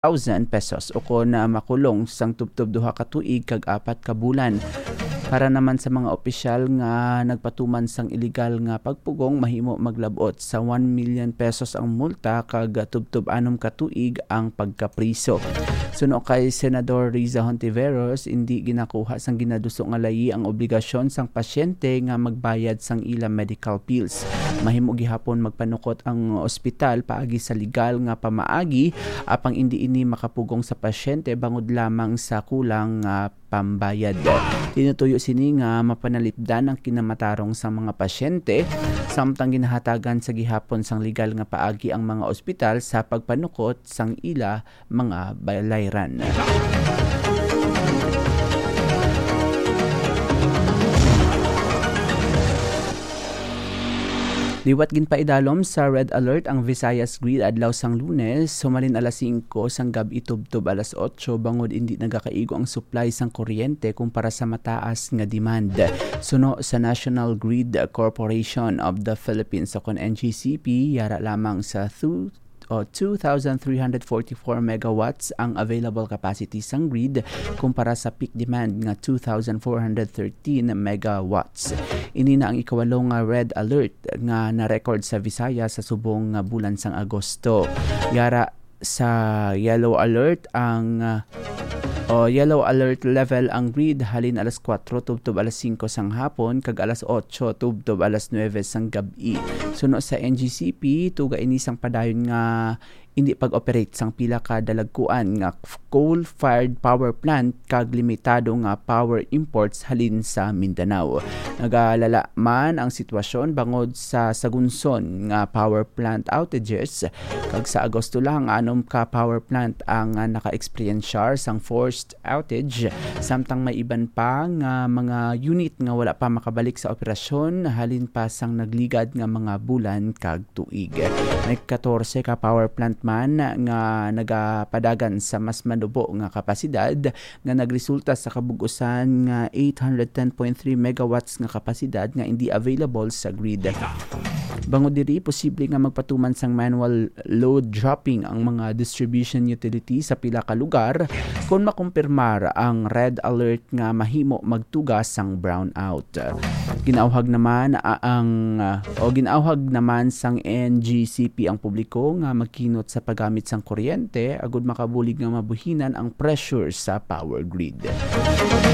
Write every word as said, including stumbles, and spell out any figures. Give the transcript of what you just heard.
thousand pesos, o kon, ah, makulong sang tubtob duha ka tuig kag apat ka bulan. Para naman sa mga opisyal nga nagpatuman sang iligal nga pagpugong, mahimo maglab-ot sa one million pesos ang multa kag tubtob anom ka tuig ang pagkapriso. Suno kay Senador Riza Hontiveros, indi ginakuha sang ginaduso nga layi ang obligasyon sang pasyente nga magbayad sang ila medical bills. Mahimo gihapon magpanukot ang ospital paagi sa legal nga pamaagi, apang indi ini makapugong sa pasyente bangod lamang sa kulang nga pambayad. Tinutuyo sini nga mapanalipdan ang kinamatarong sa mga pasyente, samtang ginahatagan sa gihapon sang legal nga paagi ang mga ospital sa pagpanukot sang ila mga balayran. Liwat ginpaidalom sa red alert ang Visayas Grid adlaw sang Lunes, humalin alas singko sang gab-i tubtob alas otso, bangod indi nagakaigo ang supply sang kuryente kumpara sa mataas nga demand. Suno sa National Grid Corporation of the Philippines, o kon N G C P, yara lamang sa two, o two thousand three hundred forty-four megawatts ang available capacity sang grid kumpara sa peak demand nga two thousand four hundred thirteen megawatts. Ini na ang ikawalo nga red alert nga na-record sa Visayas sa subong nga bulan sang Agosto. Yara sa yellow alert ang, ah, o yellow alert level ang grid halin alas kuwatro tubtob alas singko sang hapon kag alas otso tubtob alas nuwebe sang gab-i. Suno sa N G C P, tuga ini sang padayon nga indi pag-operate sang pila ka dalagkuan nga coal-fired power plant kag limitado nga power imports halin sa Mindanao. Nagalala man ang sitwasyon bangod sa sagunson nga power plant outages, kag sa Agosto lang, anom ka power plant ang, ah, naka-eksperyensyar sang forced outage, samtang may iban pa nga mga unit nga wala pa makabalik sa operasyon halin pa sang nagligad nga mga bulan kag tuig. May katorse ka power plant man nga nagapadagan sa mas manubo nga kapasidad, nga nagresulta sa kabug-usan nga eight hundred ten point three megawatts nga kapasidad nga indi available sa grid. Bangod diri, posible nga magpatuman sang manual load dropping ang mga distribution utility sa pila ka lugar kon makumpirmar ang red alert nga mahimo magtuga sang brownout. Ginauhag naman, ah, ang, ah, o ginauhag naman sang N G C P ang publiko nga magkinot sa paggamit sang kuryente agud makabulig nga mabuhinan ang pressure sa power grid.